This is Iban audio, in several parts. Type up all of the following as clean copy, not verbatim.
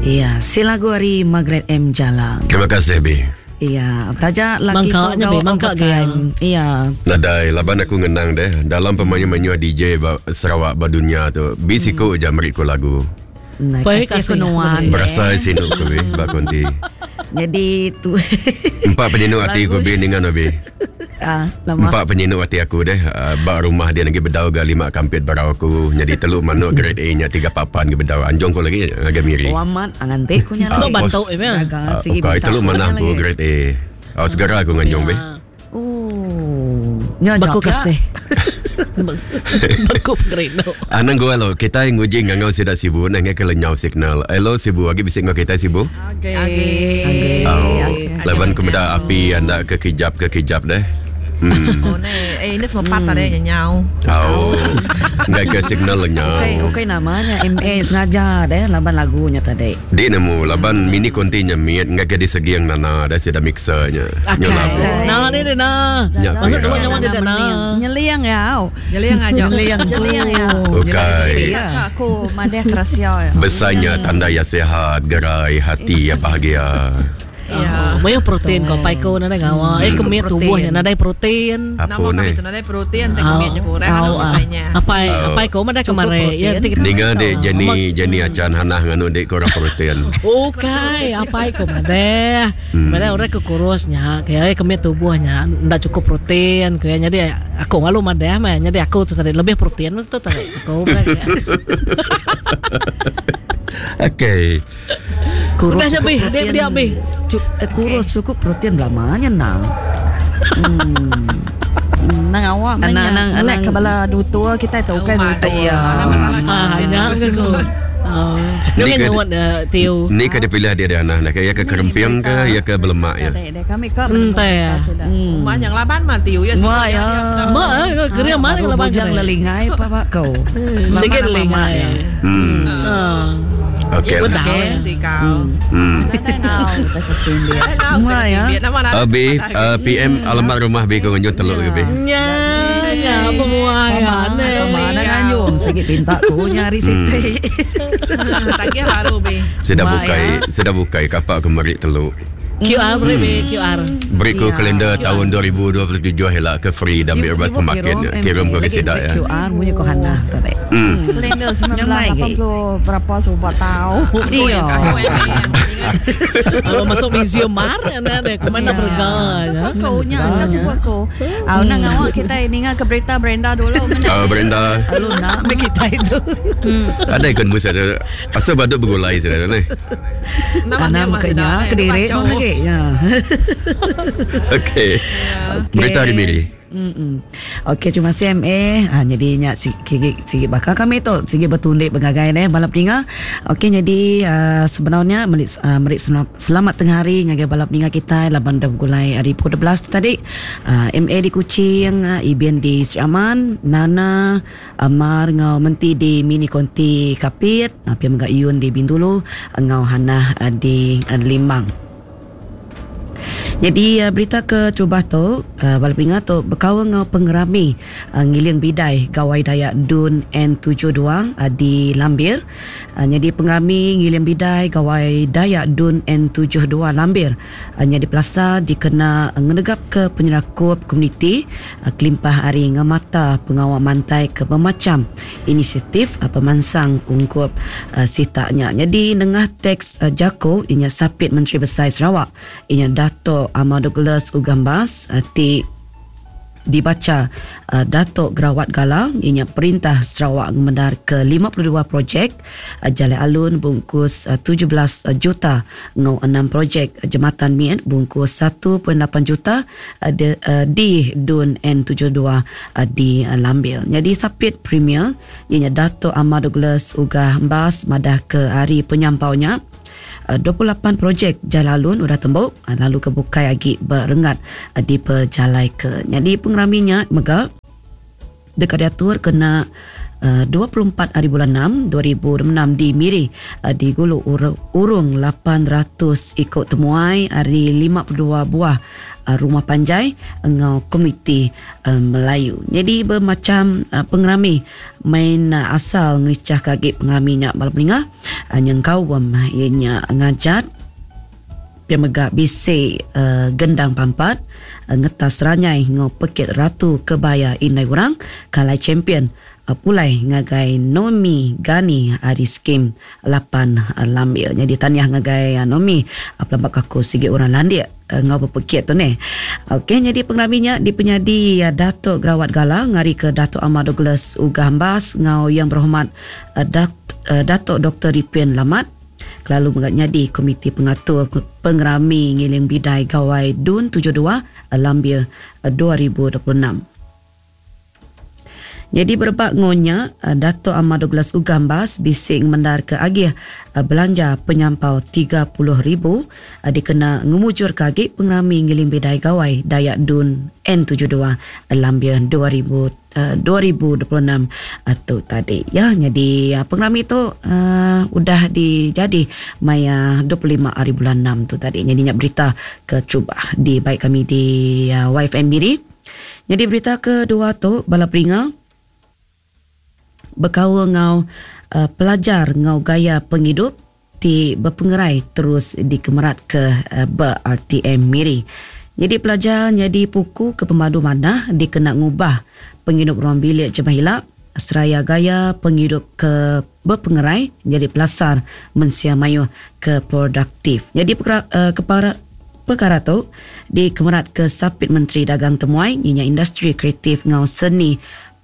Iya, si lagu ari Margaret M Jalang. Terima kasih Bi. Iya, taja laki Mangka tu nya Bi, gawa mangka overtime. Iya. Nadai laban aku ngenang deh dalam pemayuh-mayuh DJ ba Sarawak ba dunya tu bi siku aja meri ku lagu. Nah, Pai kasih kasih ku nuan. aku Berasai sinu ku bi ba konti. Jadi tu Empa penyinu ati ku bi ninga no bi. Ah, lama. Empa penyinu ati aku deh ah, ba rumah dia lagi bedau ga lima kampit barau aku nyadi telu manuk grade A nya tiga papan ge bedau anjung ku lagi ngagai Miri. Oh amat nganti ku nya Ah, Teluk lagi. bantu bos. ya. Gaga Ah, sigi ukai minta telu ku nya manah ku lagi. grade A. Oh, segera aku nganjung be. Oh. Nya Baku jak kasih. Baku pengerindu. Anang gua lo, kita nguji ngangau sida Sibu nah ngai ke lenyau signal. Hello Sibu, agi bisi enggau kita Sibu? Agi. Agi. Oh, laban ku meda api anda ke kijap ke kijap deh. Hmm. Oh, ne, eh ini semua pat tadi nyenyau. Oh. Ngai ke signal lenyau. Ukai ukai namanya MA sengaja deh laban lagunya tadi. Di nemu laban mini konti nya mit ngai ke disegiang nana deh sida mixer nya. Nyu Akai. labu. Na ni dia na. Nya Masuk kira. dulu nyawa dia na. Nyeliang ya. Au. Nyeliang aja. Nyeliang. Nyeliang ya. Ukai. Ya. Kak aku madah kerasia ya. Besarnya tanda ya sihat, gerai, hati ya bahagia. Ya. Oh, mayuh protein ko pai ko nadai ngawa. Eh kemit Protein. tubuhnya nadai protein. Apa Nama ni? kami tu nadai protein, tak kemit je kurang Au, anu ah. katanya. Apai Oh. apai ko madah Cukup kemari. Ya protein. nanti kita Ninga dek Jenny Jenny Acan Hanah nganu dek korang protein. Ukai, apai ko madah. Madah orang ke kurusnya, kaya kemit tubuhnya ndak cukup protein, kaya jadi aku ngalu madah mah, jadi aku tu tadi lebih protein tu tadi. Aku madah. Okey. Kurus Udah cukup nya, Bi. Dia- protein. dia, Bi. Kurus cukup protein belamanya nang. Nang awak Anang- menya. anang- Lek anang. ke bala dutua kita tu kan dutua. Iya. Ah, nya ke ku. Oh. Dia Ni kan ke- nyuat tiu. Ni ke dipilih dia dia Hanah nak ya ke kerempiang ke ya ke belemak ya. Dek, dek kami ke teh ya. Rumah yang laban mati ya. Wah ya. Ma, eh, kering mana Baru kalau bang bujang lelingai pa pak kau. Sikit Lama-lama lelingai. ya. Hmm. Ah. Okey. lah. Betul. Ya, si kau. Nadai nau kita ketindian. Wah, ya. B, PM alamat rumah B kau nganjung telur ke B. Nya, nya pemuai Sama mana nganjung sikit pinta ku nyari siti. Tagih baru be. Sudah Mak, bukai, sudah bukai kapak ke merik telur. QR beri be QR. Beri ku Ya. kalender tahun 2027 helak ke free dan ambil bebas pemakin ya. Kirim ke sidak ya. QR punya ko Hana tadi. Kalender Nyamai ke? 1980 berapa subuh tahu. Iya. Aku yang Kalau masuk museum mar anda deh kemana berga ya. Aku nya kasih buat aku. Au nang awak kita ninga ke berita Brenda dulu. Mana? Oh, Brenda. Lalu nak ambil kita itu. Ada ikut musa tu. Asal badut bergulai sudah ni. Nama Tanam kenya kediri pun lagi. Ya. Okey. Berita hari Miri. Mm-mm. Okey, terima kasih MA. Ha, jadi nya sigi sigi bakal kami tu sigi bertundik bergagai ne balap ninga. Okey, jadi uh, sebenarnya merik uh, merik selamat tengah hari ngagai balap ninga kita laban dah gulai hari pukul 12 tu tadi. MA di Kuching, Ibian di Sri Aman, Nana, Amar ngau Menti di Mini Konti Kapit, uh, Pia Mega Yun di Bintulu, ngau Hanah uh, di uh, Limbang. Jadi uh, berita ke cuba tu uh, bala pengingat tu berkawan ngau pengerami uh, ngiling bidai Gawai Dayak Dun N72 uh, di Lambir. Jadi pengerami ngiling bidai Gawai Dayak Dun N72 Lambir uh, jadi pelasa dikena uh, ngenegap ke penyerakup komuniti uh, kelimpah hari ngemata pengawal mantai ke bermacam inisiatif uh, pemansang ungkup uh, sitaknya. Jadi nengah teks uh, Jako inya sapit Menteri Besar Sarawak inya Dato' Ahmad Douglas Ugambas uh, ti dibaca uh, Datuk Gerawat Galang ianya perintah Sarawak memendar ke 52 projek uh, Jalan Alun bungkus uh, 17 juta ngau 6 projek uh, Jematan Mian bungkus 1.8 juta uh, di Dun N72 uh, di uh, Lambil. Jadi sapit Premier ianya Datuk Ahmad Douglas Ugah Mbas madah ke hari penyampaunya 28 projek jalan alun udah tembuk lalu ke bukai agi berengat di pejalai ke. Jadi pengeraminya mega dekat diatur kena 24 hari bulan 6 2026 di Miri di gulu urung 800 iku temuai ari 52 buah rumah panjai enggau komuniti Melayu. Nyadi bemacham pengerami main asal ngerichahka agi pengerami nya bala peninga nyengkaum iya nya ngajat pia mega bisi gendang pampat ngetas ranyai enggau pekit Ratu Kebaya Indai Orang ke alai champion pulai ngagai Nomi Gani ari Skim 8 Lambir. Nyadi tahniah ngagai Nomi pelaba ke aku sigi orang landik enggau bepekit tu neh. Okey nyadi pengerami nya dipenyadi Datuk Gerawat Gala ngarika Datuk Amar Douglas Uggah Embas enggau Yang Berhormat Datuk Doktor Ripin Lamat kelalu mega nyadi Komiti Pengatur Pengerami Ngiling Bidai Gawai Dun 72 Lambir 2026. Nyadi berebak enggau nya, Datuk Amar Douglas Uggah Embas bisi ngemendarka agih belanja penyampau 30,000 dikena ngemujurka agi pengerami Ngiling Bidai Gawai Dayak Dun N72 Lambir 2026 tu tadi. Ya, nyadi pengerami tu udah dijadi maya 25 hari bulan 6 tu tadi. Nyadi nya berita keterubah dibai kami di YFM Miri. Nyadi berita kedua tu bala peringa bekaul enggau pelajar enggau gaya pengidup ti bepengerai terus dikemeratka ba RTM Miri. Nyadi pelajar nyadi puku ke pemadu manah dikena ngubah pengidup ruang bilik jemah ila seraya gaya pengidup ke bepengerai nyadi pelasar mensia mayuh ke produktif. Nyadi pekara pekara tu dikemeratka Sapit Menteri Dagang Temuai inya Industri Kreatif enggau Seni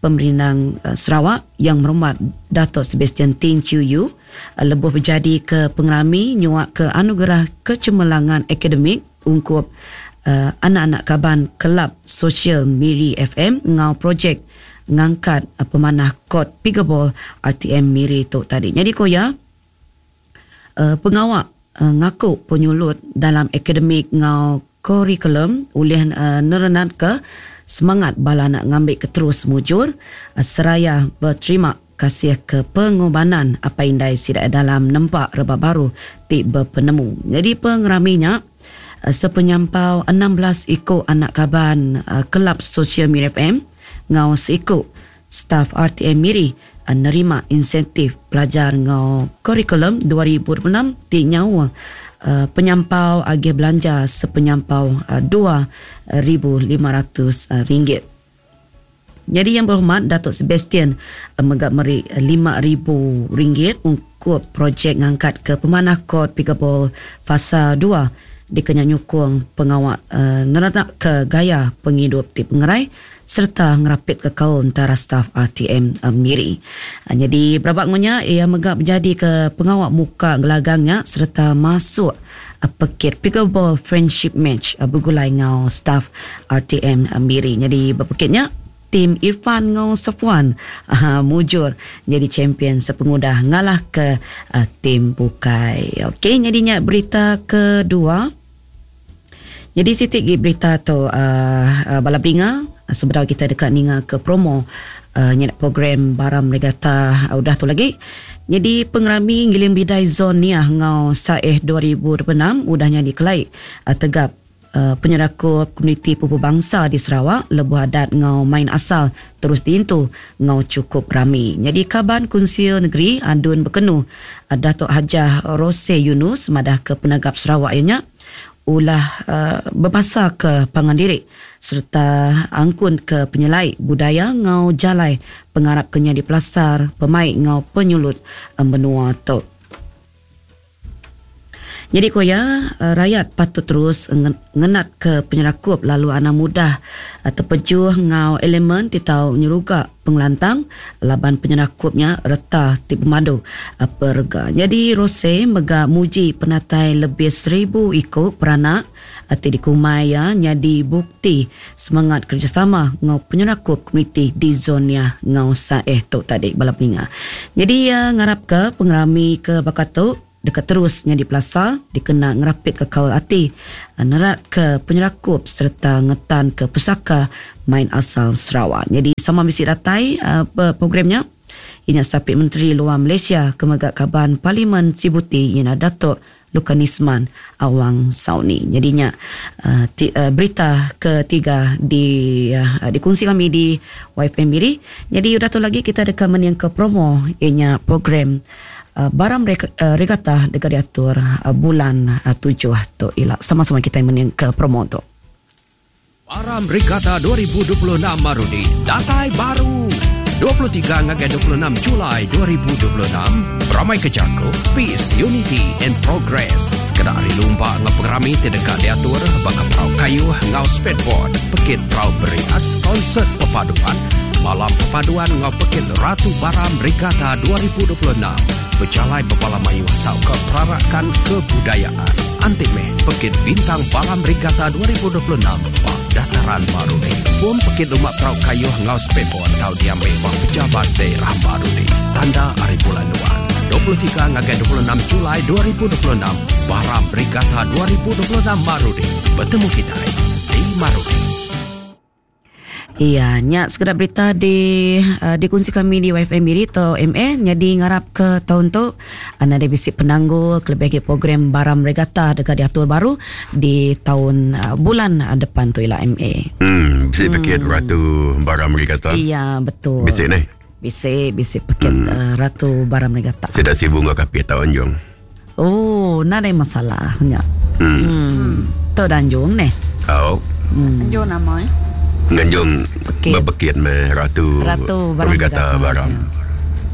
Pemerindang Sarawak Yang Berhormat Dato Sebastian Ting Chiew Yew lebuh bejadika pengerami nyuaka Anugerah Kecemerlangan Akademik ungkup anak-anak kaban Kelab Sosial Miri FM enggau projek ngangkat pemanah kod pickleball RTM Miri tu tadi. Nyadi ku iya, pengawa ngaku penyulut dalam akademik enggau kurikulum ulih nerenatka semangat bala anak ngambika terus mujur seraya beterima kasih ke pengorbanan apai indai sida dalam nempa rebak baru ti bepenemu. Nyadi pengerami nya sepenyampau 16 iku anak kaban Kelab Sosial Miri FM enggau seiku staf RTM Miri nerima insentif pelajar enggau kurikulum 2026 ti nyauh penyampau agih belanja sepenyampau RM2,500. Nyadi Yang Berhormat Datuk Sebastian mega meri RM5,000 ungkup projek ngangkatka pemanah kod pickleball Fasa 2 dikena nyukung pengawa nerenakka gaya pengidup ti pengerai sereta ngerapitka kaul entara staf RTM Miri. Nyadi berabak enggau nya, iya mega bejadika pengawa muka gelagang nya sereta masuk pekit Pickleball Friendship Match begulai enggau staf RTM Miri. Nyadi ba pekit nya, tim Irfan enggau Safwan mujur nyadi champion sepengudah ngalahka tim bukai. Okey, nyadi nya berita kedua. Nyadi siti gi berita tu bala beringa sebedau kita deka ninga ke promo nyadi program Baram Regatta udah tu lagi. Nyadi pengerami Ngiling Bidai Zon Niah enggau Saeh 2026 udah nyadi kelai tegap penyerakup komuniti pupu bangsa di Sarawak lebuh adat enggau main asal terus diintu enggau chukup rami. Nyadi Kaban Kunsil Negeri Adun Bekenu Datuk Hajah Rosey Yunus madahka penegap Sarawak iya nya ulah bebasaka pangan diri sereta angkunka penyelai budaya enggau jalai pengarap ke nyadi pelasar pemaik enggau penyulut menua tu. Nyadi ku iya, rayat patut terus ngenatka penyerakup lalu anang mudah tepejuh enggau elemen ti tau nyeruga pengelantang laban penyerakup nya reta ti pemadu perega. Nyadi Rosey mega muji penatai lebih 1000 iku peranak ti dikumbai iya nyadi bukti semangat kerejasama enggau penyerakup komuniti di zon iya enggau Saeh tu tadi bala peninga. Nyadi iya ngarapka pengerami ke baka tu deka terus nyadi pelasar dikena ngerapitka kaul ati, neratka penyerakup sereta ngetanka pesaka main asal Sarawak. Nyadi sama bisi datai ba program nya. iya nya Sapit Menteri Luar Malaysia ke mega Kaban Parlimen Sibuti iya nya Datuk Lukanisman Awang Sauni. Nyadi nya ti berita ketiga di dikunsi kami di YFM Miri. Nyadi udah tu lagi kita deka meningka promo iya nya program Baram Regata deka diatur bulan tujuh tu ila. Sama-sama kitai meningka promo tu. Baram Regatta 2026 Marudi datai baru! 23 ngagai 26 Julai 2026, beramai ke jaku Peace, Unity and Progress sekeda ari lumba enggau pengerami ti deka diatur baka perau kayuh enggau skateboard, pekit perau berias, konsert perpaduan, malam perpaduan enggau pekit Ratu Baram Regatta 2026, bejalai bebala mayuh tauka perarakan kebudayaan. Anti meh Pekit Bintang Baram Regatta 2026 ba Dataran Marudi. Pom pekit lumba perau kayuh enggau speedboat tau diambi ba Pejabat Daerah Marudi. Tanda ari bulan nuan. 23 ngagai 26 Julai 2026 Baram Regatta 2026 Marudi. Betemu kitai di Marudi. Iya, nya sekeda berita di uh, dikunsi kami di YFM Miri atau MA nyadi ngarap ke taun tu nadai bisi penanggul kelebih agi program Baram Regatta deka diatur baru di taun uh, bulan depan tu ila MA. Bisi pekit Ratu Baram Regatta. Iya, betul. Bisi neh. Bisi, bisi pekit uh, Ratu Baram Regatta. Sida Sibu enggau Kapit tau anjung. Oh, nadai masalah nya. Hmm. hmm. Tu danjung neh. Au. Anjung nama eh? Nganjung bebekit meh Ratu Ratu Baram Regatta Baram.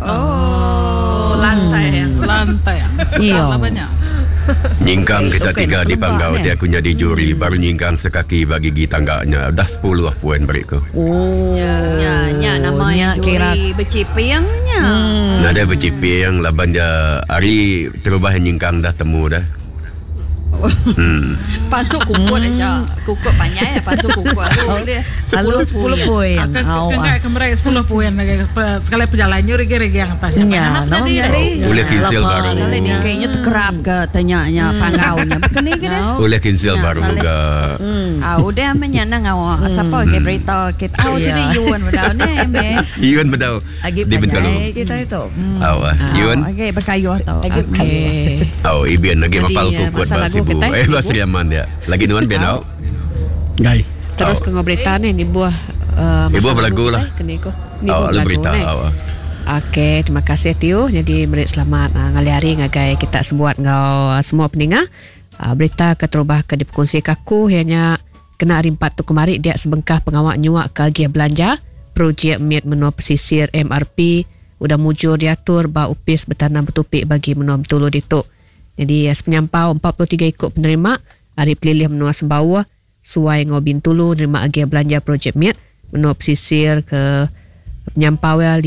Oh, lantai. Lantai. Iya. Sedap banyak. Nyingkang kita Okey, tiga nak di kelembak panggau neh. ti aku nyadi juri baru nyingkang sekaki ba gigi tangga nya udah 10 poin beri ku. Oh. Nya, nya nama Nya yang kira juri beciping nya. Nadai bechiping laban dia ari terubah nyingkang dah temu dah. Pansuk kukut aja. Kukut panjai pansuk kukut lalu boleh Lalu 10 10 poin. Akan Au. kengkai ke mereka 10 poin lagi sekali perjalanan nyu regi-regi yang atas. Nya, nama jadi. Ulih cancel baru. Sekali dia kayaknya terkerap ke tanya-nya panggaunya. Bukan ni ke dia? Ulih cancel Ya, baru salah. ga. Ah, udah menyana ngawak. Siapa ke berita kita? Ah, Ya. sini Yun udah ni, me. Yun bedau Agi di Bintulu. panjai kita itu. Au ah, Yun. Okey, berkayuh tau. Agi Okey. Au Ibin lagi Jadi, mapal eh, kukut masa ba lagu Sibu. kita, Eh ba Ibu. Sri Aman dia. Lagi nuan Ben au. Gai. Terus ke berita ni ni buah uh, Ibu berlagu lah. Kena ko. Ni Au buah lu lagu berita ni. au. ah. Okey, terima kasih Tio. Jadi beri selamat uh, ngalih hari ngagai kita sebuat ngau uh, semua peninga. Uh, berita keterubah ke diperkongsi kaku ianya kena hari 4 tu kemari dia sebengkah pengawak nyuak ke agiah belanja projek Miat Menua Pesisir MRP udah mujur diatur ba upis bertanam bertupik bagi menua Bentulu ditu. Jadi eh, sepenyampau 43 ikut penerima hari pelilih menua Sembawah Suai ngau Bintulu nerima agiah belanja projek Miat menua pesisir ke penyampau ya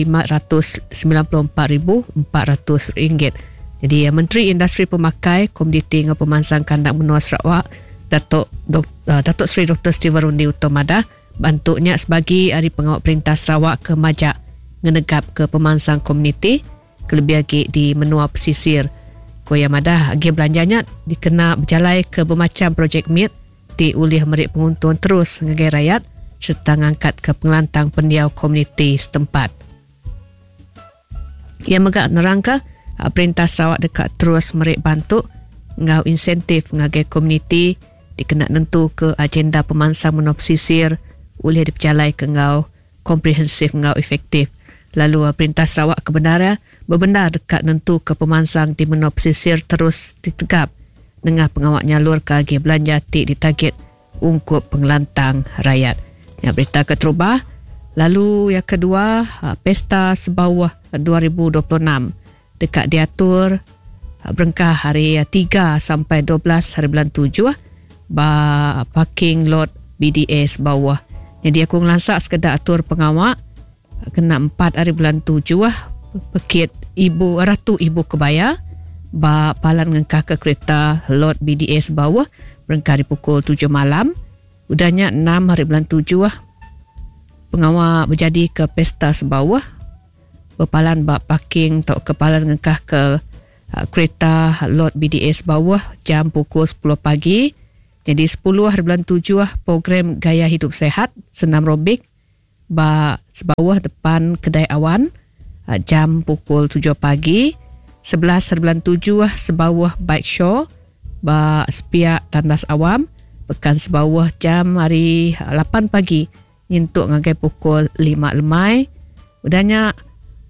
RM594,400. Jadi eh, Menteri Industri Pemakai Komoditi dengan Pemansang Kandang Menua Sarawak Datuk Dok, uh, Datuk Seri Dr. Stephen Rundi Utomada bantuknya sebagai hari pengawal perintah Sarawak ke Majak ngenegap ke pemansang komuniti kelebih lagi di menua pesisir. Koya madah agi belanjanya dikena berjalai ke bermacam projek MIT ti ulih merik penguntung terus ngagai rakyat serta ngangkat ke pengelantang pendiau komuniti setempat. Ia megak nerangka ah, perintah Sarawak dekat terus merik bantu ngau insentif ngagai komuniti dikena nentu ke agenda pemansang menua pesisir ulih dipejalai ke ngau komprehensif ngau efektif. Lalu ah, perintah Sarawak kebenaran berbenar dekat nentu ke pemansang di menua pesisir terus ditegap dengan pengawak nyalur ke agi belanja ti ditarget ungkup pengelantang rakyat. Yang berita keterubah. Lalu yang kedua, ah, Pesta Sebawah 2026 dekat diatur ah, berengkah hari 3 sampai 12 hari bulan 7 ba parking lot BDS bawah. Jadi aku ngelansak sekedar atur pengawak kena 4 hari bulan 7 pekit ibu Ratu Ibu Kebaya ba palan ngengkah ke kereta lot BDS bawah berengkah di pukul 7 malam. Udahnya 6 hari bulan 7 pengawal berjadi ke pesta sebawah berpalan bak parking atau ke palan ngengkah ke uh, kereta lot BDS bawah jam pukul 10 pagi. Jadi 10 hari bulan 7 program gaya hidup sehat senam robik ba sebawah depan kedai awan. Jam pukul tujuh pagi, 11 hari bulan tujuh Sebauh Bike Show ba sepiak Tandas Awam, Pekan Sebauh jam hari lapan pagi nyentuk ngagai pukul lima lemai. Udah nya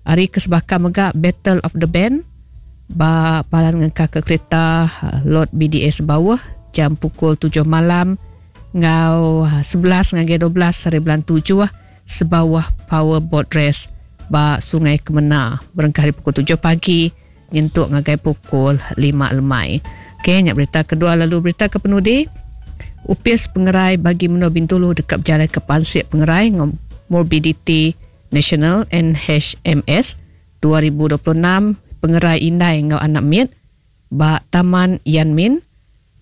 hari ke sebaka mega Battle of the Band ba palan ngengkahka kereta lot BDA Sebauh jam pukul tujuh malam enggau 11 ngagai 12 hari bulan tujuh Sebauh Power Boat Race ba Sungai Kemena berengkah ari pukul tujuh pagi nyentuk ngagai pukul lima lemai. Okey, nya berita kedua lalu berita ke penudi Opis Pengerai Bagi Menua Bintulu deka bejalaika pansik pengerai enggau Morbidity Nasional NHMS 2026 Pengerai Indai enggau Anak Mit ba Taman Yan Min,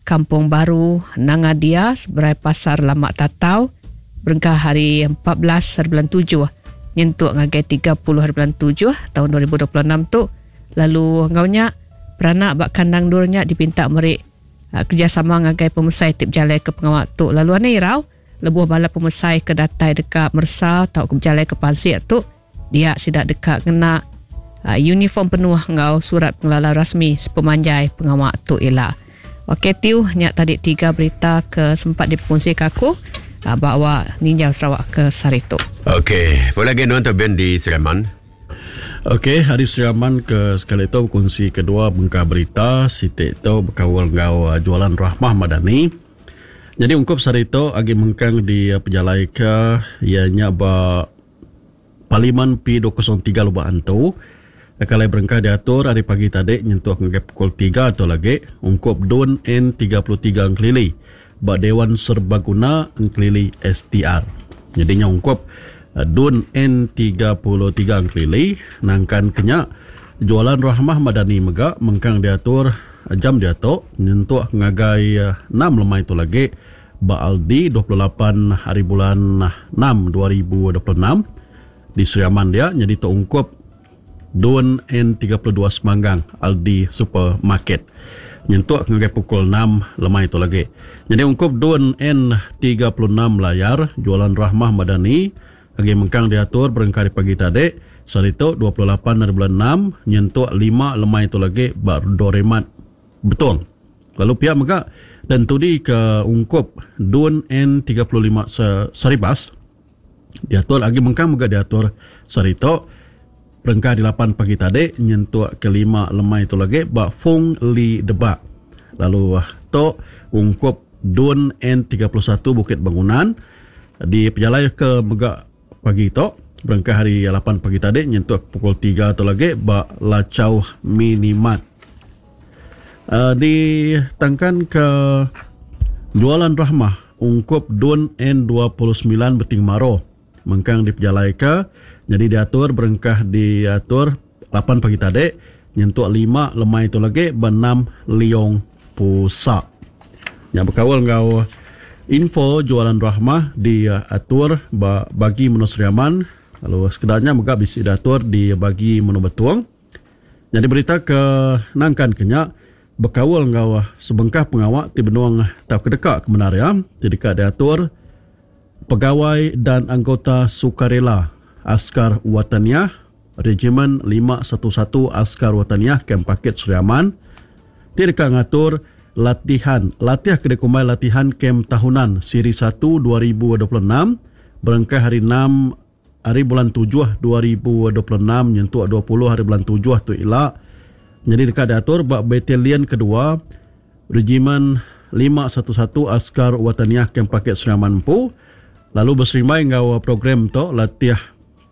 Kampung Baru Nanga Dia seberai Pasar Lama Tatau berengkah hari 14 hari bulan tujuh nyentuk ngagai 30 hari bulan tujuh taun 2026 tu lalu enggau nya peranak ba kandang endur nya dipinta meri kerejasama ngagai pemesai ti bejalaika pengawa tu lalu anang irau lebuh bala pemesai ke datai deka meresa tauka bejalaika pansik tu. Dia sida deka ngena uniform penuh enggau surat pengelala rasmi sepemanjai pengawa tu ila. Okey tiu nya tadi tiga berita ke sempat dipekongsi aku ba awak ninjau Sarawak ke sehari tu. Okey, pulai agi nuan tu Ben di Sri Aman. Okey, hari Sri Aman ke sekali tu bekongsi kedua bengkah berita siti tu bekaul enggau jualan Rahmah Madani. Nyadi ungkup sehari tu agi mengkang dipejalaika iya nya ba Parlimen P 203 Lubok Antu deka alai berengkah diatur ari pagi tadi nyentuk ngagai pukul tiga tu lagi ungkup Dun N 33 Engkelili ba Dewan Serbaguna Engkelili STR. Nyadi nya ungkup Dun N 33 Engkelili nangkan ke nya Jualan Rahmah Madani mega mengkang diatur jam diatu nyentuk ngagai enam lemai tu lagi Ba Aldi 28 hari bulan 6 2026 di Sri Aman dia nyadi tu ungkup Dun N32 Semanggang Aldi Supermarket nyentuk ngagai pukul 6 lemai tu lagi. Nyadi ungkup Dun N36 Layar Jualan Rahmah Madani agi mengkang diatur berengkah ari pagi tadi sehari tu 28 hari bulan 6 nyentuk 5 lemai tu lagi ba Doremat Betong. Lalu pia mega dan entudi ke ungkup Dun N 35 Saribas diatur agi mengkang mega diatur sehari tu berengkah di lapan pagi tadi nyentuk ke lima lemai tu lagi ba Fong Lee Debak. Lalu tu ungkup Dun N 31 Bukit Bangunan dipejalai ke mega pagi tu berengkah hari lapan pagi tadi nyentuk pukul tiga tu lagi ba Lachau Minimart. Ditangkan ke Jualan Rahmah ungkup Dun N 29 Beting Maro mengkang dipejalaika nyadi diatur berengkah diatur lapan pagi tadi nyentuk lima lemai tu lagi ba enam Liong Pusa. Nya bekaul enggau info Jualan Rahmah diatur ba bagi menua Sri Aman lalu sekeda nya mega bisi diatur di bagi menua Betong. Nyadi berita ke nangkan ke nya bekaul enggau sebengkah pengawa ti benung tauka deka ke bendar iya ti deka diatur Pegawai dan Anggota Sukarela Askar Wataniah Regimen 511 Askar Wataniah Kem Pakit Sri Aman ti deka ngatur latihan latih ke dikumbai Latihan Kem Tahunan Siri 1 2026 berengkah hari enam Ari bulan tujuh 2026 nyentuk 20 hari bulan tujuh tu ila nyadi deka diatur ba Batalion Kedua Regimen 511 Askar Wataniah Kem Pakit Sri Aman empu lalu beserimbai enggau program tu latih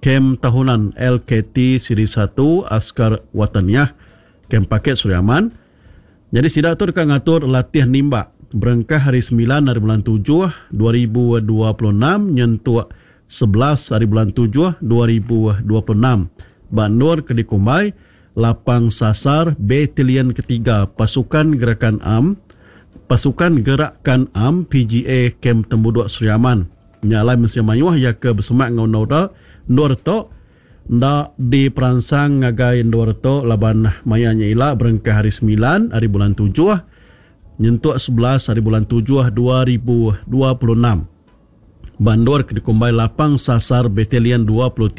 Kem Tahunan LKT Siri 1 Askar Wataniah Kem Pakit Sri Aman. Nyadi sida tu deka ngatur latih nimbak berengkah hari semilan hari bulan tujuh 2026 nyentuk 11 ari bulan tujuh 2026 ba endur ke dikumbai Lapang Sasar Batalion Ketiga Pasukan Gerakan Am Pasukan Gerakan Am PGA Kem Tembuduk Sri Aman. Nya alai mensia mayuh iya ke besemak enggau endur endur tu enda diperansang ngagai endur tu laban maya nya ila berengkah hari semilan ari bulan tujuh nyentuk 11 ari bulan tujuh 2026. Ba endur ke dikumbai Lapang Sasar Batalion 23.